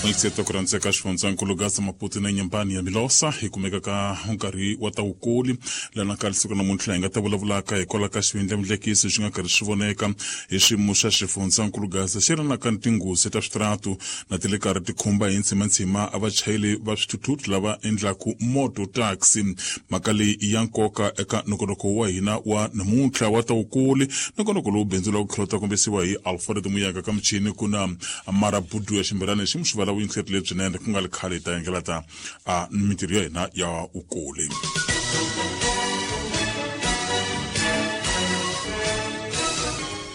Muyingiseti ku rhandzeka xifundzankulu Gaza Maputo na Nyembani ya Milosa hi kumeka ka nkarhi wa ta wukuli lana ka siku namuntlha hi nga ta vulavulaka hikwalaho ka xivindlamudlekiso xi nga karhi swi voneka hi xiyimo xa xifundzankulu Gaza xi ri na ka tinghozi ta switaratu na ti le karhi ti khumba hi ntshimantshima a vachayeri va swithuthuthu lava endlaku moto taxi. Mhaka leyi i ya nkoka eka nongonoko wa hina wa namuntlha wa ta wukuli, nongonoko lowu bindzu la ku tlhela ta kombisiwa hi Alfred Muyaka ka michini ku na Marabudu ya ximbelani xi muxivala vuyingiseri lebyinene ku nga ri khale hi ta yengela ta a mintirho ya hina ya wukuli.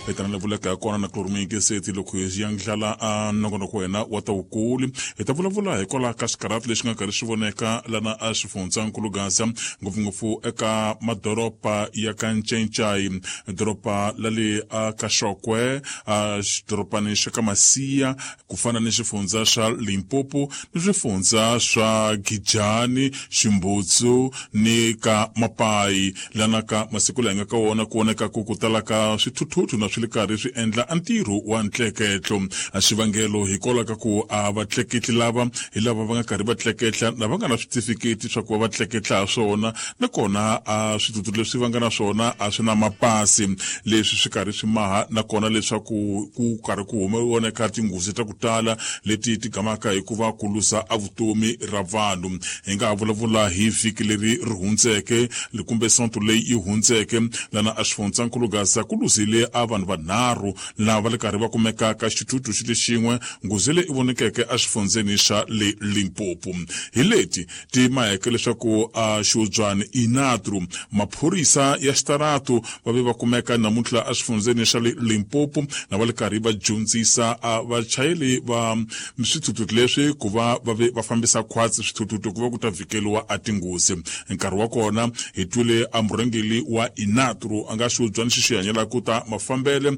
Hi ta na vuleka ya kona na kulorumuyingiseti loko hi yandlala a nongonoko wa hina wa ta wukuli, hi ta vulavula hikwalaho ka xikarhati lexi nga karhi swi voneka lana a xifundzankulu Gaza, ngopfungopfu eka madoroba ya ka Ncencai, doroba la le a ka Xokwe, a xidorobani xa ka Masiya, ku fana ni xifundza xa Limpopo ni swifundza swa Gijani, Ximbutsu ni ka Mapayi. Lana ka masiku laha hi nga ka wona ku voneka ku tala ka swithuthuthu na swi le karhi swi endla a ntirho wa ntleketlo. A xivangelo hikwalaho ka ku a vatleketli lava hi lava va nga karhi va tleketla lava nga na switifiketi swa ku va va tleketla ha swona, nakona a swithuthuthu leswi va nga na swona a swi na mapasi, leswi swi karhi swi maha nakona leswaku ku karhi ku voneka tinghozi ta ku tala leti ti gamaka hi ku va ku luza a vutomi ra vanhu. Hi nga ha vulavula hi vhiki leri ri hundzeke kumbe sonto leyi yi hundzeke, lana a xifundzankulu Gaza ku luzile a vanhu vanharhu lava va le karhi va kumeka ka xithuthuthu xi lexin'we, nghozi leyi i vonekeke exifundzeni xa le Limpopo. Hi leti ti maheke leswaku a xiubyani inatru maphorisa ya xitaratu va ve va kumeka namuntlha exifundzeni xa le Limpopo na va le karhi va dyondzisa a vachayeri va swithuthuthu leswi ku va va ve va fambisa khwatsi swithuthuthu ku va ku ta vhikeliwa a tinghozi. Nkarhi wa kona hi twile a murhangeri wa inatru a nga xiubyani xi xi hanyelaka ta mafambele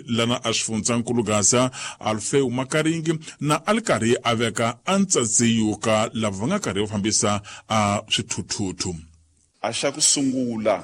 lana a xifundzankulu Gaza, Alfeu Makaringi, na a li karhi a veka a ntsatsiyo ka lava va nga karhi va fambisa a swithuthuthu. A xa ku sungula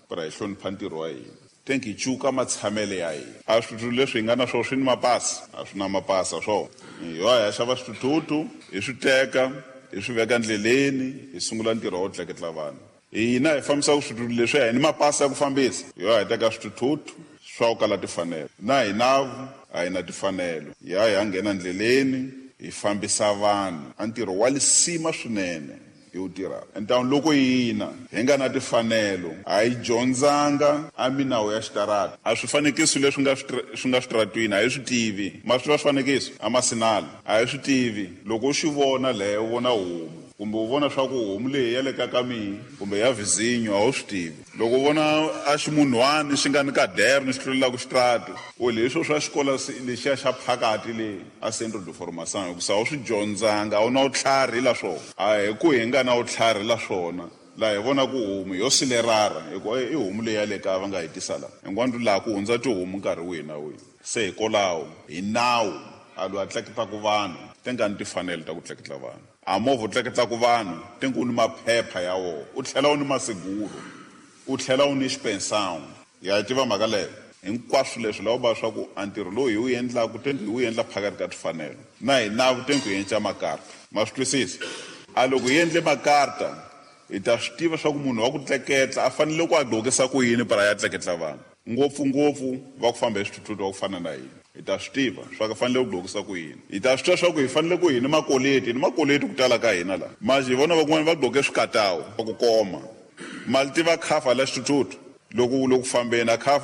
pra hi hlonipha ntirho wa hina, tenk hi cuka matshamele ya hina. A swithuthuthu leswi hi nga na swona swi ni mapasi? A swi na mapasi a swona. Hi ya hi xava swithuthuthu, hi swi teka, hi swi veka ndleleni, hi sungula ntirho wa ku tleketla vanhu. Hina hi fambisaka swithuthuthu leswi hi ni mapasi ya ku fambisa, hi ya hi teka swithuthuthu swa ku kala timfanelo, na hinavu a hi na timfanelo, hi ya hi ya nghena ndleleni hi fambisa vanhu. A ntirho wa lisima swinene hi wu tirhaka entawuni loko hina hi nga na timfanelo, a hi dyondzanga a minawu ya xitarata. A swifanekiso leswi nga swi nga switaratwini a hi swi tivi. Ma swi tiva swifanekiso a masinali a hi swi tivi. Loko u xi vona leyo, u vona homu kumbe u vona swa ku homu leyi ya le ka ka mihi kumbe ya vizinyo, a wu swi tivi. Loko u vona a ximunhwani xi nga ni kaderni xi tlulelaka xitratu, u leswo swa xikolo lexiya xa phakati le a centre de formation, hikusa a wu swi dyondzanga, a wu na vutlhari la swona. A hi ku hi nga na vutlhari la swona, laha hi vona ku homu yo silerara hikuva i homu leyi ya le kaya va nga hi tisa laha hinkwanu, laha ku hundza tihomu nkarhi wihi na wihi. Se hikwalaho hi nawu a loyi a tleketlaku vanhu ti nga ni timfanelo ta ku tleketla vanhu. A movha u tleketlaka vanhu ti ku ni maphepha ya wona, u tlhela u ni masiguro, u tlhela u ni xipensão. Ya yi tiva mhaka leyo? Hinkwaswo leswi lava va swa ku a ntirho lowu hi wu endlaku tenku hi wu endla phakati ka timfanelo, na hi navu tenku hi endla makarta. Ma swi twisisa? A loko hi endle makarta hi ta swi tiva swa ku munhu wa ku tleketla a fanele ku a gqokisa ku yini para ya tleketla vanhu, ngopfungopfu va ku famba hi swithuthuthu va ku fana na hina. Hi ta swi tiva swa ku fanele ku gqokisa ku yini. Hi ta swi tiva swa ku hi fanele ku hi ni makoleti, hi ni makoleti ku tala ka hina laha. Manje hi vona van'wani va gqoke swikatawu va ku koma mali tiva khafa la xithuthuthu loko u le ku fambeni a khafa.